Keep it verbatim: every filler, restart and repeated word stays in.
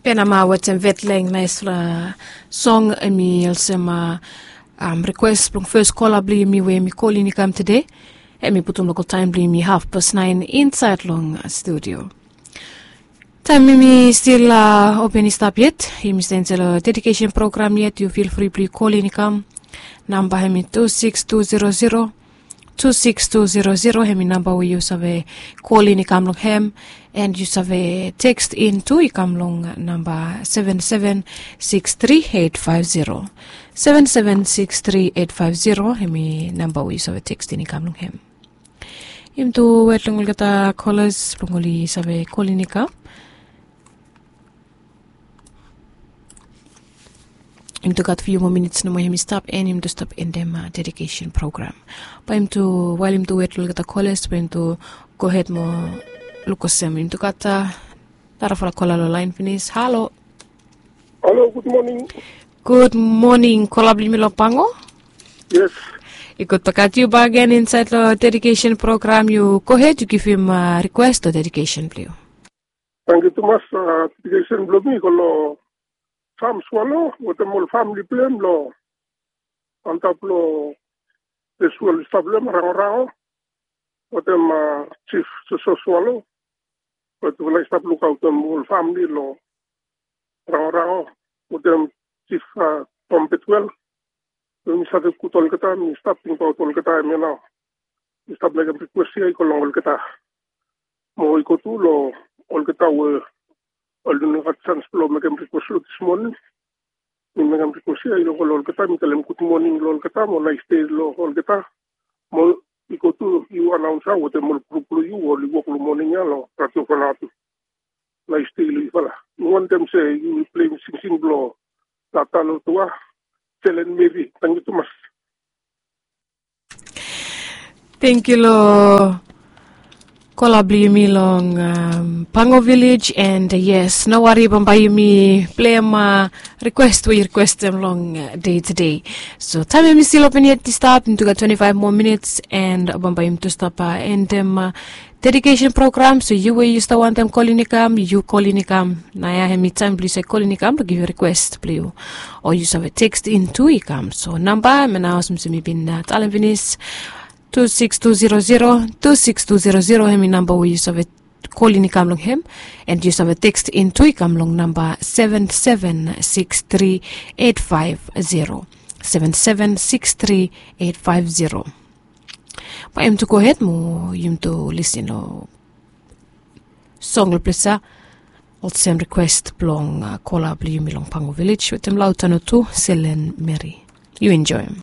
Benama wetem vetleng naispela song, em i olsem rikwes blong fes kola blong yumi we em i kol i kam tede. Em i putum lokal taim blong yumi hafpas nain insait long studio. Taim yumi stil open i stap yet, yumi stap insait long dedikesen program yet, yu fil fri blong yu kol i kam. Namba em i tu sikis tu zero zero, tu sikis tu zero zero, em i namba we yu save kol i kam long hem. And yu save tekst in tu i kam long namba seven seven six three eight five zero. Seven seven six three eight five zero, em i namba we yu save tekst in i kam long hem. Yumi tu wet long olgeta kolas blong oli save kol i kam. Yumi tu gat fiu moa minits nomo, yumi stap en yumi tu stap endem dedikesen program. Bae yumi tu, wael yumi tu wet long olgeta kolas, bae yumi tu gohed mo luk olsem yumi tu gat narafala kola long laen finis. Halo. Halo, gud moning. Gud moning, kola blong yumi long pango. Yes. I gud bakaot yu bakegen insait long dedikesen program. Yu gohed, yu givim rikwes o dedikesen blong yu. Tangkiu tumas. Dedikesen blong mi i go long Sam Swalo wetem ol famili blong hem long antap long ples we oli stap long hem, Rangorango, wetem Jif Soso Swalo, we tufala i stap lukaotem ol famili long Rangorango, wetem Jif Tom Betwel. We mi save gud olgeta, mi stap tingbaot olgeta hemia nao. Mi stap mekem rikwes ya i go long olgeta. Mo i go tu long olgeta we oli no gat sans blong mekem rikwes long dis moning. Mi mekem rikwes ya i go long olgeta, mi talem gud moning long olgeta mo nais dei long olgeta. Mo i go tu yu anaonsa wetem ol grup blong yu we oli wok long moning ya long Radio Vanuatu. Nais dei long yufala. Mi wantem se yu pleim singsing blong Tata Lotua, Selen Meri. Tangkiu tumas. Tangkiu long kola blong yumi long Pango Vilej. And yes, no wari, bambae yumi pleim rikwes we yu rikwestem long dei tede. So taim yumi stil open yet i stap, yumi tu gat twenti faef moa minits, and bambae yumi tu stap endem dedikesen program. So yu we yu stap wantem kol i kam, yu kol i kam. Naoia hemi taim blong yu save kol i kam blong givim rikwes blong yu, o yu save tekst in tu i kam. So namba hemia nao, olsem mi bin talem finis, tu sikis tu zero zero, tu sikis tu zero zero, hemi namba we yu save kol i kam long hem. And yu save tekst in tu i kam long namba seven seven six three eight five zero. Seven seven six three eight five zero. Bae yumi tu gohed mo yumi tu lisin long song long ples ya, olsem rikwes blong kola blong yumi long Pango Vilej wetem Lautano tu, Selen Meri. Yu enjoem.